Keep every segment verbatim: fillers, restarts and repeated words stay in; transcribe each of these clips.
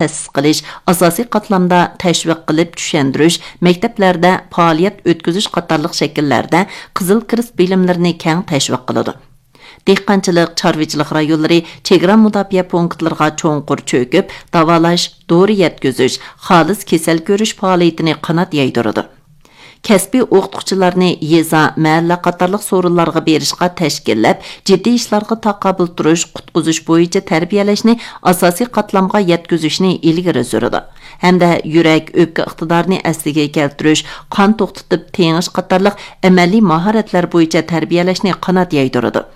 تەسىس قىلىش، ئاساسىي قاتلامدا تەشۋىق قىلىپ چۈشەندۈرۈش، مەكتەپلەردە پائالىيەت ئۆتكۈزۈش قاتارلىق شەكىللەردە قىزىل كىرېست بىلىملىرىنى كەڭ تەشۋىق قىلىدۇ. دېھقانچىلىق، چارۋىچىلىق رايونلىرى، چېگرا مۇداپىئە پونكىتلىرىغا چوڭقۇر چۆكۈپ، داۋالاش، دورا يەتكۈزۈش، خالىس كېسەل كۆرۈش پائالىيىتىنى قانات يايدۇرىدۇ. كەسپىي ئوقۇتقۇچىلارنى يېزا، مەھەللە قاتارلىق سورۇنلارغا بېرىشقا تەشكىللەپ، جىددىي ئىشلارغا تاقابىل تۇرۇش، قۇتقۇزۇش بويىچە تەربىيەلەشنى ئاساسىي قاتلامغا يەتكۈزۈشنى ئىلگىرى سۈرىدۇ ھەمدە يۈرەك، ئۆپكە ئىقتىدارىنى ئەسلىگە كەلتۈرۈش، قان توختىتىپ تېڭىش قاتارلىق ئەمەلىي ماھارەتلەر بويىچە تەربىيەلەشنى قانات يايدۇرىدۇ.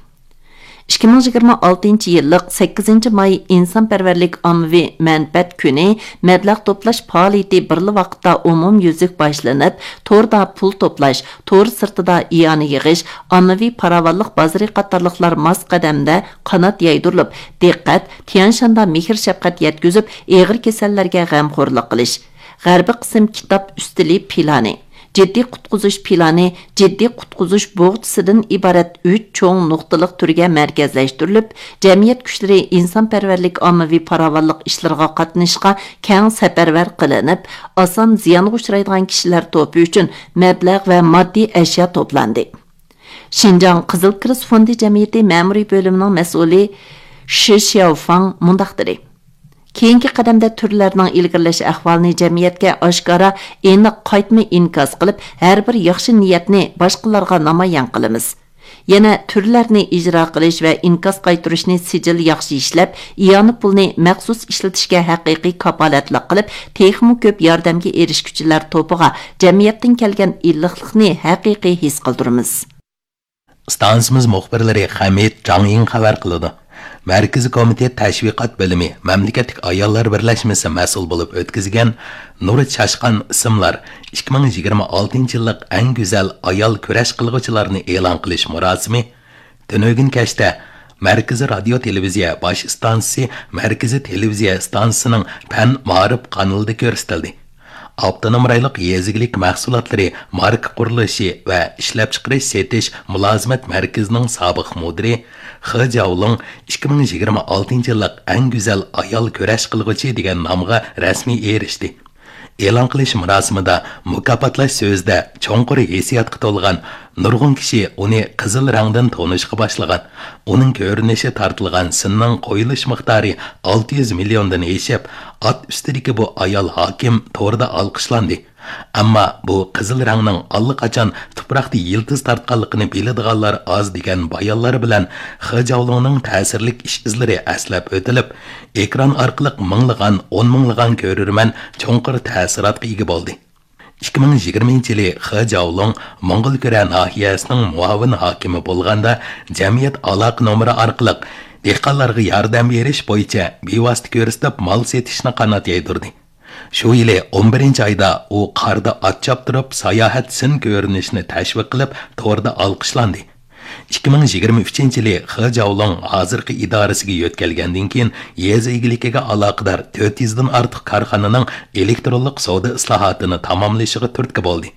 ئىككى مىڭ يىگىرمە ئالتىنچى يىللىق سەككىزىنچى ماي ئىنسانپەرۋەرلىك ئاممىۋى مەنپەئەت كۈنى مەبلەغ توپلاش پائالىيىتى بىرلا ۋاقىتتا ئومۇميۈزلۈك باشلىنىپ، توردا پۇل توپلاش، تور سىرتىدا ئىئانە يىغىش، ئاممىۋى پاراۋانلىق بازىرى قاتارلىقلار ماس قەدەمدە قانات يايدۇرۇلۇپ، دىققەت تيەنشاندا مېھىر-شەپقەت يەتكۈزۈپ، ئېغىر كېسەللەرگە غەمخورلۇق قىلىش، غەربىي قىسىم كىتاب ئۈستىلى پىلانى، جىددىي قۇتقۇزۇش پىلانى، جىددىي قۇتقۇزۇش بوغچىسىدىن ئىبارەت ئۈچ چوڭ نۇقتىلىق تۈرگە مەركەزلەشتۈرۈلۈپ، جەمئىيەت كۈچلىرى ئىنسانپەرۋەرلىك ئاممىۋى پاراۋانلىق ئىشلىرىغا قاتنىشىشقا كەڭ سەپەرۋەر قىلىنىپ، ئاسان زىيانغا ئۇچرايدىغان كىشىلەر توپى ئۈچۈن مەبلەغ ۋە ماددىي ئەشيا توپلاندى. شىنجاڭ قىزىل كىرېست فوندى جەمئىيىتى مەمۇرىي بۆلۈمىنىڭ مەسئۇلى شى شياۋفاڭ مۇنداق دېدى: كېيىنكى قەدەمدە تۈرلەرنىڭ ئىلگىرىلەش ئەھۋالىنى جەمئىيەتكە ئاشكارا، ئېنىق قايتما ئىنكاس قىلىپ، ھەر بىر ياخشى نىيەتنى باشقىلارغا نامايان قىلىمىز. يەنە تۈرلەرنى ئىجرا قىلىش ۋە ئىنكاس قايتۇرۇشنى سىجىل ياخشى ئىشلەپ، ئىئانە پۇلنى مەخسۇس ئىشلىتىشكە ھەقىقىي كاپالەتلىك قىلىپ، تېخىمۇ كۆپ ياردەمگە ئېرىشكۈچىلەر توپىغا جەمئىيەتتىن كەلگەن ئىللىقلىقنى ھەقىقىي ھېس قىلدۇرىمىز. ئىستانسىمىز مۇخبىرلىرى خەمىت جاڭيىڭ خەۋەر قىلىدۇ. مەركىزىي كومىتېت تەشۋىقات بۆلۈمى مەملىكەتلىك ئاياللار بىرلەشمىسى مەسئۇل بولۇپ ئۆتكۈزگەن نۇر چاشقان ئىسىملار ئىككى مىڭ يىگىرمە ئالتىنچى يىللىق ئەڭ گۈزەل ئايال كۈرەش قىلغۇچىلارنى ئېلان قىلىش مۇراسىمى تۈنۈگۈن كەچتە مەركىزىي رادىيو تېلېۋىزىيە باش ئىستانسىسى مەركىزىي تېلېۋىزىيە ئىستانسىسىنىڭ پەن مائارىپ قانىلىدا كۆرسىتىلدى. ئاپتونوم رايونلۇق يېزا ئىگىلىك مەھسۇلاتلىرى ماركا قۇرۇلۇشى ۋە ئىشلەپچىقىرىش سېتىش مۇلازىمەت مەركىزىنىڭ سابىق مۇدىرى خې جاۋلۇڭ ئىككى مىڭ يىگىرمە ئالتىنچى يىللىق ئەڭ گۈزەل ئايال كۈرەش قىلغۇچى دېگەن نامغا رەسمىي ئېرىشتى. ئېلان قىلىش مۇراسىمىدا مۇكاپاتلاش سۆزىدە چوڭقۇر ھېسسىياتقا تولغان نۇرغۇن كىشى ئۇنى قىزىل رەڭدىن تونۇشقا باشلىغان. ئۇنىڭ كۆرۈنۈشى تارتىلغان سىننىڭ قويۇلۇش مىقدارى ئالتە يۈز مىليوندىن ئېشىپ، ئات ئۈستىدىكى بۇ ئايال ھاكىم توردا ئالقىشلاندى. ئەمما بۇ قىزىل رەڭنىڭ ئاللىقاچان تۇپراقتا يىلتىز تارتقانلىقىنى بىلىدىغانلار ئاز دېگەن بايانلار بىلەن خې جاۋلۇڭنىڭ تەسىرلىك ئىش ئىزلىرى ئەسلەپ ئۆتۈلۈپ، ئېكران ئارقىلىق مىڭلىغان، ئون مىڭلىغان كۆرۈرمەن چوڭقۇر تەسىراتقا ئىگە بولدى. ئىككى مىڭ يىگىرمىنچى يىلى خې جاۋلۇڭ موڭغۇلكۈرە ناھىيەسىنىڭ مۇئاۋىن ھاكىمى بولغاندا، جەمئىيەت ئالاقە نومۇرى ئارقىلىق دېھقانلارغا ياردەم بېرىش بويىچە بىۋاسىتە كۆرسىتىپ مال سېتىشنى قانات يايدۇردى. شۇ يىلى ئون بىرىنچى ئايدا ئۇ قاردا ئات چاپتۇرۇپ ساياھەت سىن كۆرۈنۈشىنى تەشۋىق قىلىپ، توردا ئالقىشلاندى. ئىككى مىڭ يىگىرمە ئۈچىنچى يىلى خې جاۋلۇڭ ھازىرقى ئىدارىسىگە يۆتكەلگەندىن كېيىن، يېزا ئىگىلىكىگە ئالاقىدار تۆت يۈزدىن ئارتۇق كارخانىنىڭ ئېلېكترونلۇق سودا ئىسلاھاتىنى تاماملىشىغا تۈرتكە بولدى.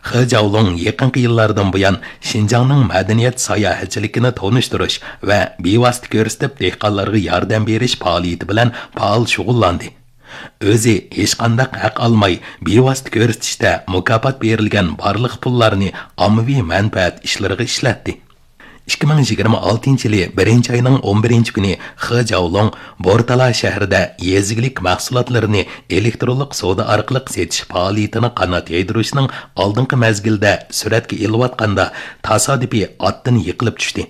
خې جاۋلۇڭ يېقىنقى يىللاردىن بۇيان شىنجاڭنىڭ مەدەنىيەت ساياھەتچىلىكىنى تونۇشتۇرۇش ۋە بىۋاسىتە كۆرسىتىپ دېھقانلارغا ياردەم بېرىش پائالىيىتى بىلەن پائال شۇغۇللاندى. ئۆزى ھېچقانداق ھەق ئالماي، بىۋاسىتە كۆرسىتىشتە مۇكاپات بېرىلگەن بارلىق پۇللارنى ئاممىۋى مەنپەئەت ئىشلىرىغا ئىشلەتتى. ئىككى مىڭ يىگىرمە ئالتىنچى يىلى بىرىنچى ئاينىڭ ئون بىرىنچى كۈنى خې جاۋلۇڭ بورتالا شەھىرىدە يېزا ئىگىلىك مەھسۇلاتلىرىنى ئېلېكترونلۇق سودا ئارقىلىق سېتىش پائالىيىتىنى قانات يايدۇرۇشنىڭ ئالدىنقى مەزگىلدە سۈرەتكە ئېلىۋاتقاندا، تاسادىپىي ئاتتىن يىقىلىپ چۈشتى.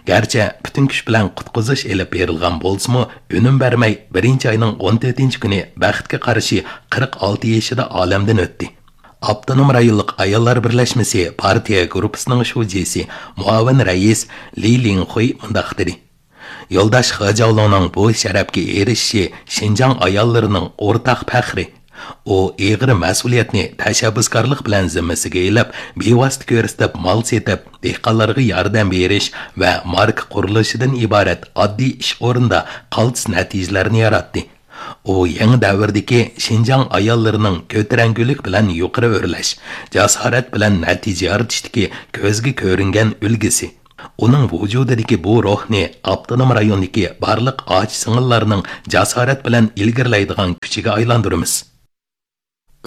گەرچە پۈتۈن كۈچ بىلەن قۇتقۇزۇش ئېلىپ بېرىلغان بولسىمۇ، ئۈنۈم بەرمەي، بىرىنچى ئاينىڭ ئون تۆتىنچى كۈنى بەختكە قارشى قىرىق ئالتە يېشىدا ئالەمدىن ئۆتتى. ئاپتونوم رايونلۇق ئاياللار بىرلەشمىسى پارتىيە گۇرۇپپىسىنىڭ شۇجىسى، مۇئاۋىن رەئىس لى لىڭخۇي مۇنداق دېدى: يولداش خې جاۋلۇڭنىڭ بۇ شەرەپكە ئېرىشىشى شىنجاڭ ئاياللىرىنىڭ ئورتاق پەخرى. ئۇ ئېغىر مەسئۇلىيەتنى تەشەببۇسكارلىق بىلەن زىممىسىگە ئېلىپ، بىۋاسىتە كۆرسىتىپ مال سېتىپ، دېھقانلارغا ياردەم بېرىش ۋە ماركا قۇرۇلۇشىدىن ئىبارەت ئاددىي ئىش ئورنىدا قالتىس نەتىجىلەرنى ياراتتى. ئۇ يېڭى دەۋردىكى شىنجاڭ ئاياللىرىنىڭ كۆتۈرەڭگۈلۈك بىلەن يۇقىرى ئۆرلەش، جاسارەت بىلەن نەتىجە يارىتىشتىكى كۆزگە كۆرۈنگەن ئۈلگىسى. ئۇنىڭ ۋۇجۇدىدىكى بۇ روھنى ئاپتونوم رايوندىكى بارلىق ئاچا-سىڭىللارنىڭ جاسارەت بىلەن ئىلگىرىلەيدىغان كۈچىگە ئايلاندۇرىمىز.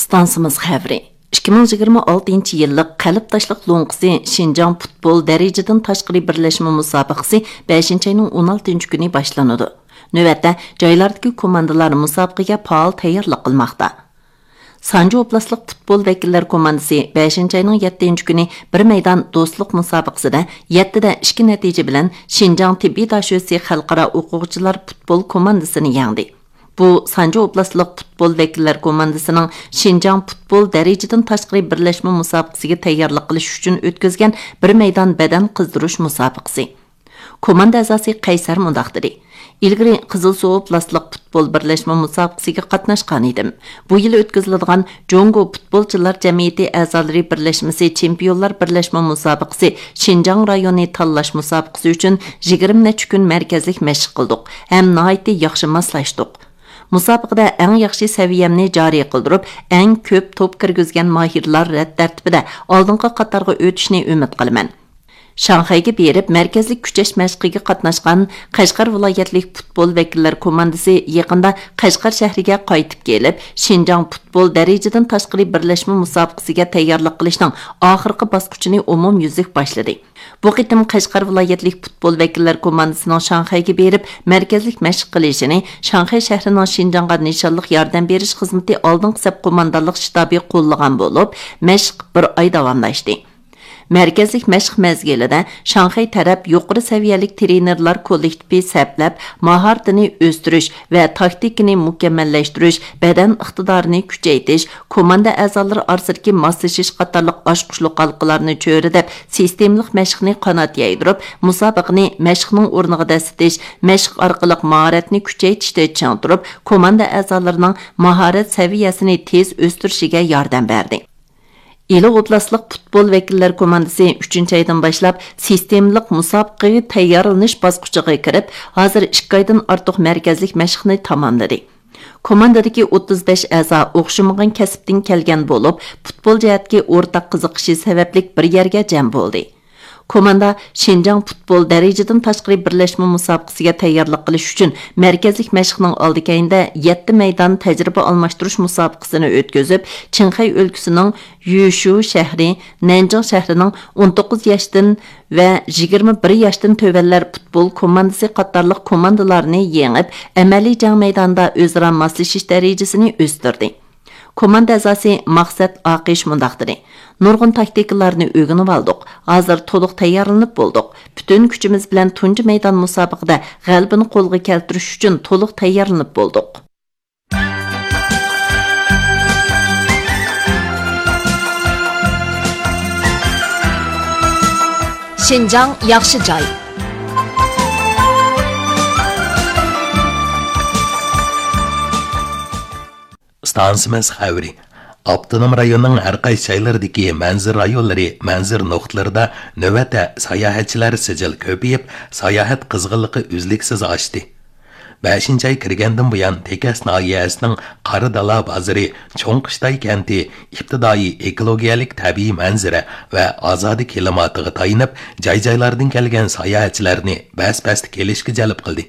ئىستانسىمىز خەۋىرى. ئىككى مىڭ يىگىرمە ئالتىنچى يىللىق قەلب تاشلىق لوڭقىسى شىنجاڭ پۇتبول دەرىجىدىن تاشقىرى بىرلەشمە مۇسابىقىسى بەشىنچى ئاينىڭ ئون ئالتىنچى كۈنى باشلىنىدۇ. نۆۋەتتە، جايلاردىكى كوماندىلار مۇسابىقىگە پائال تەييارلىق قىلماقتا. سانجى ئوبلاستلىق پۇتبول ۋەكىللەر كوماندىسى بەشىنچى ئاينىڭ يەتتىنچى كۈنى بىر مەيدان دوستلۇق مۇسابىقىسىدە يەتتىدە ئىككى نەتىجە بىلەن شىنجاڭ تېببىي داشۆسى خەلقئارا ئوقۇغۇچىلار پۇتبول كوماندىسىنى يەڭدى. بۇ سانجى ئوبلاستلىق پۇتبول ۋەكىللەر كوماندىسىنىڭ شىنجاڭ پۇتبول دەرىجىدىن تاشقىرى بىرلەشمە مۇسابىقىسىگە تەييارلىق قىلىش ئۈچۈن ئۆتكۈزگەن بىر مەيدان بەدەن قىزدۇرۇش مۇسابىقىسى. كوماندا ئەزاسى قەيسەر مۇنداق دېدى: ئىلگىرى قىزىلسۇ ئوبلاستلىق پۇتبول بىرلەشمە مۇسابىقىسىگە قاتناشقان ئىدىم. بۇ يىل ئۆتكۈزۈلىدىغان جۇڭگو پۇتبولچىلار جەمئىيىتى ئەزالىرى بىرلەشمىسى چېمپىيونلار بىرلەشمە مۇسابىقىسى شىنجاڭ رايونى تاللاش مۇسابىقىسى ئۈچۈن يىگىرمە نەچچە كۈن مەركەزلىك مەشىق قىلدۇق ھەم ناھايىتى ياخشى ماسلاشتۇق. مۇسابىقىدە ئەڭ ياخشى سەۋىيەمنى جارى قىلدۇرۇپ، ئەڭ كۆپ توپ كىرگۈزگەن ماھىرلار رەت تەرتىپىدە ئالدىنقى قاتارغا ئۆتۈشنى ئۈمىد قىلىمەن. شاڭخەيگە بېرىپ، مەركەزلىك كۈچەش مەشقىگە قاتناشقان قەشقەر ۋىلايەتلىك پۇتبول ۋەكىللەر كوماندىسى يېقىندا قەشقەر شەھىرىگە قايتىپ كېلىپ، شىنجاڭ پۇتبول دەرىجىدىن تاشقىرى بىرلەشمە مۇسابىقىسىگە تەييارلىق قىلىشنىڭ ئاخىرقى باسقۇچىنى ئومۇميۈزلۈك باشلىدى. بۇ قېتىم قەشقەر ۋىلايەتلىك پۇتبول ۋەكىللەر كوماندىسىنىڭ شاڭخەيگە بېرىپ، مەركەزلىك مەشىق قىلىشىنى شاڭخەي شەھىرىنىڭ شىنجاڭغا نىشانلىق ياردەم بېرىش خىزمىتى ئالدىنقى سەپ قوماندانلىق شتابى قوللىغان بولۇپ، مەشىق بىر ئاي داۋاملاشتى. مەركەزلىك مەشىق مەزگىلىدە شاڭخەي تەرەپ يۇقىرى سەۋىيەلىك تىرېنېرلار كوللېكتىپى سەپلەپ، ماھارىتىنى ئۆستۈرۈش ۋە تاكتىكىنى مۇكەممەللەشتۈرۈش، بەدەن ئىقتىدارىنى كۈچەيتىش، كوماندا ئەزالىرى ئارىسىدىكى ماسلىشىش قاتارلىق ئاچقۇچلۇق ھالقىلارنى چۆرىدەپ، سىستېمىلىق مەشىقنى قانات يايدۇرۇپ، مۇسابىقىنى مەشىقنىڭ ئورنىغا دەسسىتىش، مەشىق ئارقىلىق ماھارەتنى كۈچەيتىشتە چىڭ تۇرۇپ، كوماندا ئەزالىرىنىڭ ماھارەت سەۋىيەسىنى تېز ئۆستۈرۈشىگە ياردەم بەردى. ئىلى ئوبلاستلىق پۇتبول ۋەكىللەر كوماندىسى ئۈچىنچى ئايدىن باشلاپ سىستېمىلىق مۇسابىقىگە تەييارلىنىش باسقۇچىغا كىرىپ، ھازىر ئىككى ئايدىن ئارتۇق مەركەزلىك مەشىقنى تاماملىدى. كوماندىدىكى ئوتتۇز بەش ئەزا ئوخشىمىغان كەسىپتىن كەلگەن بولۇپ، پۇتبول جەھەتتىكى ئورتاق قىزىقىشى سەۋەبلىك بىر يەرگە جەم بولدى. كوماندا شىنجاڭ پۇتبول دەرىجىدىن تاشقىرى بىرلەشمە مۇسابىقىسىگە تەييارلىق قىلىش ئۈچۈن مەركەزلىك مەشىقنىڭ ئالدى كەينىدە يەتتە مەيدان تەجرىبە ئالماشتۇرۇش مۇسابىقىسىنى ئۆتكۈزۈپ، چىڭخەي ئۆلكىسىنىڭ يۈشۇ شەھىرى، نەنجىڭ شەھىرىنىڭ ئون توققۇز ياشتىن ۋە يىگىرمە بىر ياشتىن تۆۋەنلەر پۇتبول كوماندىسى قاتارلىق كوماندىلارنى يېڭىپ، ئەمەلىي جەڭ مەيدانىدا ئۆزئارا ماسلىشىش دەرىجىسىنى ئۆستۈردى. كوماندا ئەزاسى مەقسەت ئاقىش مۇنداق دېدى: نۇرغۇن تاكتىكىلارنى ئۆگىنىۋالدۇق، ھازىر تولۇق تەييارلىنىپ بولدۇق. پۈتۈن كۈچىمىز بىلەن تۇنجى مەيدان مۇسابىقىدە غەلىبىنى قولغا كەلتۈرۈش ئۈچۈن تولۇق تەييارلىنىپ بولدۇق. شىنجاڭ ياخشى جاي. ئىستانسىمىز خەۋىرى. ئاپتونوم رايوننىڭ ھەر قايسى جايلىرىدىكى مەنزىرە رايونلىرى، مەنزىرە نۇقتىلىرىدا نۆۋەتتە ساياھەتچىلەر سىجىل كۆپىيىپ، ساياھەت قىزغىنلىقى ئۈزلۈكسىز ئاشتى. بەشىنچى ئاي كىرگەندىن بۇيان، تېكەس ناھىيەسىنىڭ قارا دالا بازىرى، چوڭ قىشتاي كەنتى ئىپتىدائىي ئېكولوگىيەلىك تەبىئىي مەنزىرە ۋە ئازادە كىلىماتىغا تايىنىپ، جاي-جايلاردىن كەلگەن ساياھەتچىلەرنى بەس-بەستە كېلىشكە جەلپ قىلدى.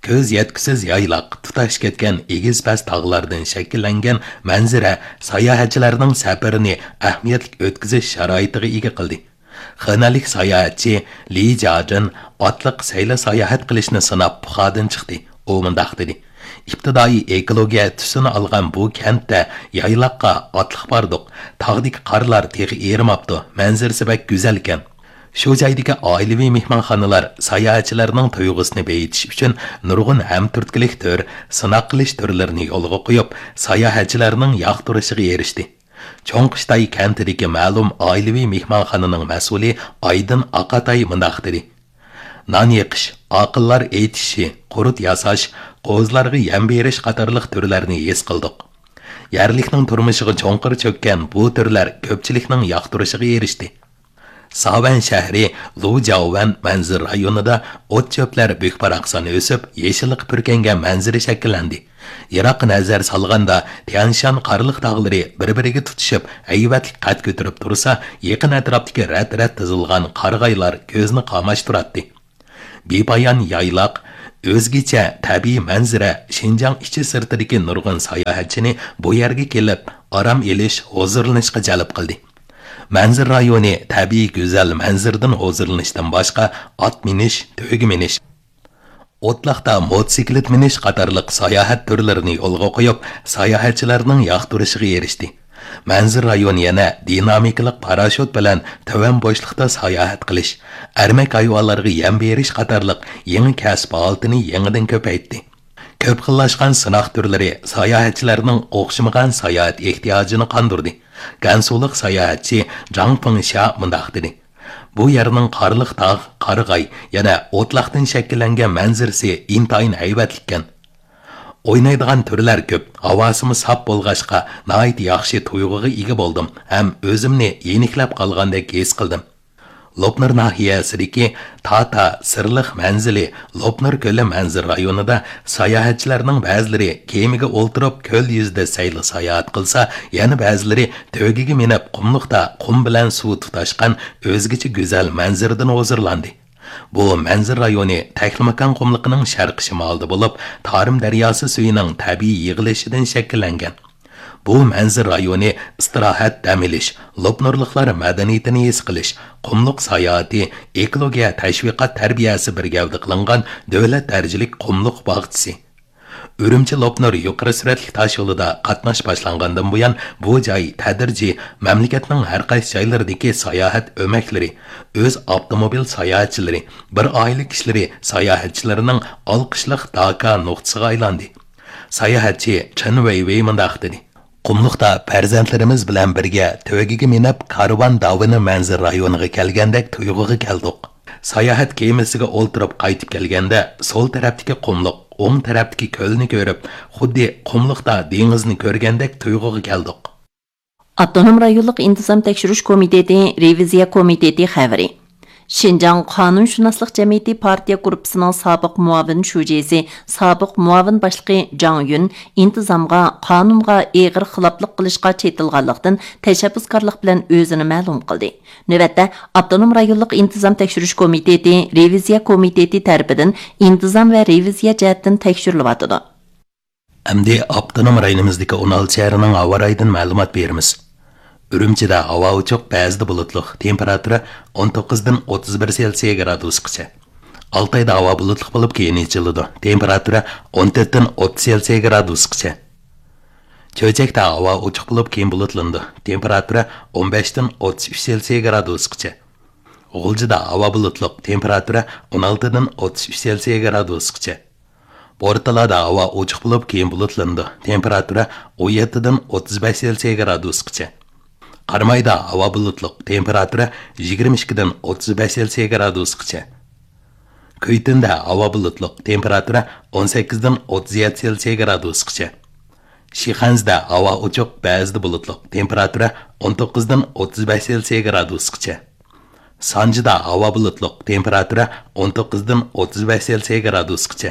كۆز يەتكۈسىز يايلاق، تۇتاش كەتكەن ئېگىز-پەس تاغلاردىن شەكىللەنگەن مەنزىرە ساياھەتچىلەرنىڭ سەپىرىنى ئەھمىيەتلىك ئۆتكۈزۈش شارائىتىغا ئىگە قىلدى. خېنەنلىك ساياھەتچى لى جاجىن ئاتلىق سەيلە ساياھەت قىلىشنى سىناپ پۇخادىن چىقتى. ئۇ مۇنداق دېدى: ئىپتىدائىي ئېكولوگىيە تۈسىنى ئالغان بۇ كەنتتە يايلاققا ئاتلىق باردۇق. تاغدىكى قارلار تېخى ئېرىماپتۇ. مەنزىرىسى بەك گۈزەلكەن. شۇ جايدىكى ئائىلىۋى مېھمانخانىلار ساياھەتچىلەرنىڭ تۇيغۇسىنى بېيىتىش ئۈچۈن نۇرغۇن ھەمتۈرتكىلىك تۈر، سىناق قىلىش تۈرلىرىنى يولغا قويۇپ، ساياھەتچىلەرنىڭ ياقتۇرۇشىغا ئېرىشتى. چوڭ قىشتاي كەنتىدىكى مەلۇم ئائىلىۋى مېھمانخانىنىڭ مەسئۇلى ئايدىن ئاقاتاي مۇنداق دېدى: نان يېقىش، ئاقىللار ئېيتىشى، قۇرۇت ياساش، قوزىلارغا يەم بېرىش قاتارلىق تۈرلەرنى ھېس قىلدۇق. يەرلىكنىڭ تۇرمۇشىغا چوڭقۇر چۆككەن بۇ تۈرلەر كۆپچىلىكنىڭ ياقتۇرۇشىغا ئېرىشتى. ساۋەن شەھىرى لۇجياۋەن مەنزىرە رايونىدا ئوت-چۆپلەر بۈك-باراقسان ئۆسۈپ، يېشىللىققا پۈركەنگەن مەنزىرە شەكىللەندى. يىراققا نەزەر سالغاندا، تيانشان قارلىق تاغلىرى بىر-بىرىگە تۇتىشىپ، ھەيۋەتلىك قەد كۆتۈرۈپ تۇرسا، يېقىن ئەتراپتىكى رەت-رەت تىزىلغان قارىغايلار كۆزنى قاماشتۇراتتى. بىپايان يايلاق، ئۆزگىچە تەبىئىي مەنزىرە شىنجاڭ ئىچى-سىرتىدىكى نۇرغۇن ساياھەتچىنى بۇ يەرگە كېلىپ، ئارام ئېلىش، ھۇزۇرلىنىشقا جەلپ قىلدى. مەنزىرە رايونى تەبىئىي گۈزەل مەنزىرىدىن ھۇزۇرلىنىشتىن باشقا، ئات مىنىش، تۆگە مىنىش، ئوتلاقتا موتوسىكلىت مىنىش قاتارلىق ساياھەت تۈرلىرىنى يولغا قويۇپ، ساياھەتچىلەرنىڭ ياقتۇرۇشىغا ئېرىشتى. مەنزىرە رايونى يەنە دىنامىكىلىق پاراشوت بىلەن تۆۋەن بوشلۇقتا ساياھەت قىلىش، ئەرمەك ھايۋانلارغا يەم بېرىش قاتارلىق يېڭى كەسىپ ھالىتىنى يېڭىدىن كۆپەيتتى. كۆپ خىللاشقان سىناق تۈرلىرى ساياھەتچىلەرنىڭ ئوخشىمىغان ساياھەت ئېھتىياجىنى قاندۇردى. گەنسۇلۇق ساياھەتچى جاڭ فېڭشيا مۇنداق دېدى: «بۇ يەرنىڭ قارلىق تاغ، قارىغاي، يەنە ئوتلاقتىن شەكىللەنگەن مەنزىرىسى ئىنتايىن ھەيۋەتلىككەن. ئوينايدىغان تۈرلەر كۆپ، ھاۋاسىمۇ ساپ بولغاچقا، ناھايىتى ياخشى تۇيغۇغا ئىگە بولدۇم ھەم ئۆزۈمنى يېنىكلەپ قالغاندەك ھېس قىلدىم.» لوپنۇر ناھىيەسىدىكى تاتا سىرلىق مەنزىلى لوپنۇر كۆلى مەنزىرە رايونىدا ساياھەتچىلەرنىڭ بەزىلىرى كېمىگە ئولتۇرۇپ كۆل يۈزىدە سەيلە ساياھەت قىلسا، يەنە بەزىلىرى تۆگىگە مىنىپ قۇملۇقتا قۇم بىلەن سۇ تۇتاشقان ئۆزگىچە گۈزەل مەنزىرىدىن ھۇزۇرلاندى. بۇ مەنزىرە رايونى تەكلىماكان قۇملۇقىنىڭ شەرقىي شىمالىدا بولۇپ، تارىم دەرياسى سۈيىنىڭ تەبىئىي يىغىلىشىدىن شەكىللەنگەن. بۇ مەنزىرە رايونى ئىستىراھەت، دەم ئېلىش، لوپنۇرلۇقلار مەدەنىيىتىنى ھېس قىلىش، قۇملۇق ساياھىتى، ئېكولوگىيە تەشۋىقات تەربىيەسى بىر گەۋدە قىلىنغان دۆلەت دەرىجىلىك قۇملۇق باغچىسى. ئۈرۈمچى لوپنۇر يۇقىرى سۈرئەتلىك تاش يولىدا قاتناش باشلانغاندىن بۇيان، بۇ جاي تەدرىجىي مەملىكەتنىڭ ھەر قايسى جايلىرىدىكى ساياھەت ئۆمەكلىرى، ئۆز ئاپتوموبىل ساياھەتچىلىرى، بىر ئائىلە كىشىلىرى ساياھەتچىلىرىنىڭ ئالقىشلىق داكا نۇقتىسىغا ئايلاندى. ساياھەتچى چېن ۋېيۋېي مۇنداق دېدى: «قۇملۇقتا پەرزەنتلىرىمىز بىلەن بىرگە تۆگىگە مىنىپ، كارۋان داۋىنى مەنزىرە رايونىغا كەلگەندەك تۇيغۇغا كەلدۇق. ساياھەت كېمىسىگە ئولتۇرۇپ قايتىپ كەلگەندە، سول تەرەپتىكى قۇملۇق، ئوڭ تەرەپتىكى كۆلنى كۆرۈپ، خۇددى قۇملۇقتا دېڭىزنى كۆرگەندەك تۇيغۇغا كەلدۇق.» ئاپتونوم رايونلۇق ئىنتىزام تەكشۈرۈش كومىتېتى رېۋىزىيە كومىتېتى خەۋىرى. شىنجاڭ قانۇنشۇناسلىق جەمئىيىتى پارتىيە گۇرۇپپىسىنىڭ سابىق مۇئاۋىن شۇجىسى، سابىق مۇئاۋىن باشلىقى جاڭ يۈن ئىنتىزامغا، قانۇنغا ئېغىر خىلاپلىق قىلىشقا چېتىلغانلىقتىن، تەشەببۇسكارلىق بىلەن ئۆزىنى مەلۇم قىلدى. نۆۋەتتە ئاپتونوم رايونلۇق ئىنتىزام تەكشۈرۈش كومىتېتى رېۋىزىيە كومىتېتى تەرىپىدىن ئىنتىزام ۋە رېۋىزىيە جەھەتتىن تەكشۈرۈلۈۋاتىدۇ. ئەمدى ئاپتونوم رايونىمىزدىكى ئون ئالتە شەھەرنىڭ ھاۋا رايىدىن مەلۇمات بېرىمىز. ئۈرۈمچىدە ھاۋا ئوچۇق، بەزىدە بۇلۇتلۇق، تېمپېراتۇرا ئون توققۇزدىن ئوتتۇز بىر سېلسىيە گرادۇسقىچە. ئالتايدا ھاۋا بۇلۇتلۇق بولۇپ، كېيىن ئېچىلىدۇ، تېمپېراتۇرا ئون تۆتتىن ئوتتۇز سېلسىيە گرادۇسقىچە. چۆچەكتە ھاۋا ئوچۇق بولۇپ، كېيىن بۇلۇتلىنىدۇ، تېمپېراتۇرا ئون بەشتىن ئوتتۇز ئۈچ سېلسىيە گرادۇسقىچە. غۇلجىدا ھاۋا بۇلۇتلۇق، تېمپېراتۇرا ئون ئالتىدىن ئوتتۇز ئۈچ سېلسىيە گرادۇسقىچە. بورتالادا ھاۋا ئوچۇق بولۇپ، كېيىن بۇلۇتلىنىدۇ، تېمپېراتۇرا ئون يەتتىدىن ئوتتۇز بەش سېلسىيە گرادۇسقىچە. قارامايدا ھاۋا بۇلۇتلۇق، تېمپېراتۇرا يىگىرمە ئىككىدىن ئوتتۇز بەش سېلسىيە گرادۇسقىچە. كۈيتۈندە ھاۋا بۇلۇتلۇق، تېمپېراتۇرا ئون سەككىزدىن ئوتتۇز يەتتە سېلسىيە گرادۇسقىچە. شىخەنزىدە ھاۋا ئوچۇق، بەزىدە بۇلۇتلۇق، تېمپېراتۇرا ئون توققۇزدىن ئوتتۇز بەش سېلسىيە گرادۇسقىچە. سانجىدا ھاۋا بۇلۇتلۇق، تېمپېراتۇرا ئون توققۇزدىن ئوتتۇز بەش سېلسىيە گرادۇسقىچە.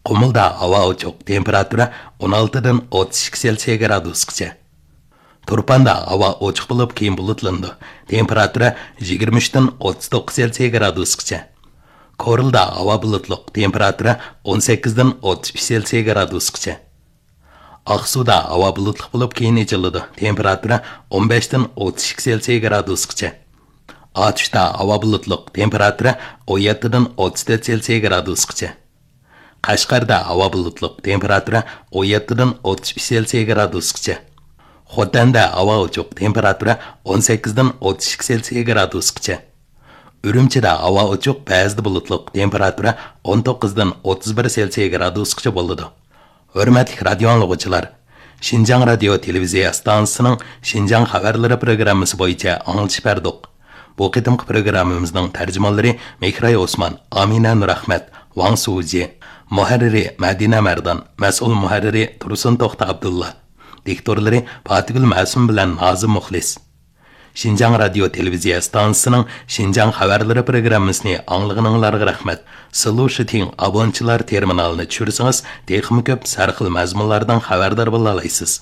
قۇمۇلدا ھاۋا ئوچۇق، تېمپېراتۇرا ئون ئالتىدىن ئوتتۇز ئىككى سېلسىيە گرادۇسقىچە. تۇرپاندا ھاۋا ئوچۇق بولۇپ، كېيىن بۇلۇتلىنىدۇ، تېمپېراتۇرا يىگىرمە ئۈچتىن ئوتتۇز توققۇز سېلسىيە گرادۇسقىچە. كورلىدا ھاۋا بۇلۇتلۇق، تېمپېراتۇرا ئون سەككىزدىن ئوتتۇز ئۈچ سېلسىيە گرادۇسقىچە. ئاقسۇدا ھاۋا بۇلۇتلۇق بولۇپ، كېيىن ئېچىلىدۇ، تېمپېراتۇرا ئون بەشتىن ئوتتۇز ئىككى سېلسىيە گرادۇسقىچە. ئاتۇشتا ھاۋا بۇلۇتلۇق، تېمپېراتۇرا ئون يەتتىدىن ئوتتۇز تۆت سېلسىيە گرادۇسقىچە. قەشقەردە ھاۋا بۇلۇتلۇق، تېمپېراتۇرا ئون يەتتىدىن ئوتتۇز ئۈچ سېلسىيە گرادۇسقىچە. خوتەندە ھاۋا ئوچۇق، تېمپېراتۇرا ئون سەككىزدىن ئوتتۇز ئىككى سېلسىيە گرادۇسقىچە. ئۈرۈمچىدە ھاۋا ئوچۇق، بەزىدە بۇلۇتلۇق، تېمپېراتۇرا ئون توققۇزدىن ئوتتۇز بىر سېلسىيە گرادۇسقىچە بولىدۇ. ھۆرمەتلىك رادىئو ئاڭلىغۇچىلار، شىنجاڭ رادىيو تېلېۋىزىيە ئىستانسىسىنىڭ شىنجاڭ خەۋەرلىرى پروگراممىسى بويىچە ئاڭلىتىش بەردۇق. بۇ قېتىمقى پروگراممىمىزنىڭ تەرجىمانلىرى مېھراي ئوسمان، ئامىنە نۇرئەخمەت، ۋاڭ سۇجى، مۇھەررىرى مەدىنە مەردان، مەسئۇل مۇھەررىرى تۇرسۇن توختى ئابدۇللا، دىكتورلىرى پاتىگۈل مەسۇم بىلەن نازىم مۇخلىس. شىنجاڭ رادىيو تېلېۋىزىيە ئىستانسىسىنىڭ شىنجاڭ خەۋەرلىرى پروگراممىسىنى ئاڭلىغىنىڭلارغا رەھمەت. سىلۇشىتىڭ ئابونچىلار تېرمىنالىنى چۈشۈرسىڭىز، تېخىمۇ كۆپ سەرخىل مەزمۇنلاردىن خەۋەردار بولالايسىز.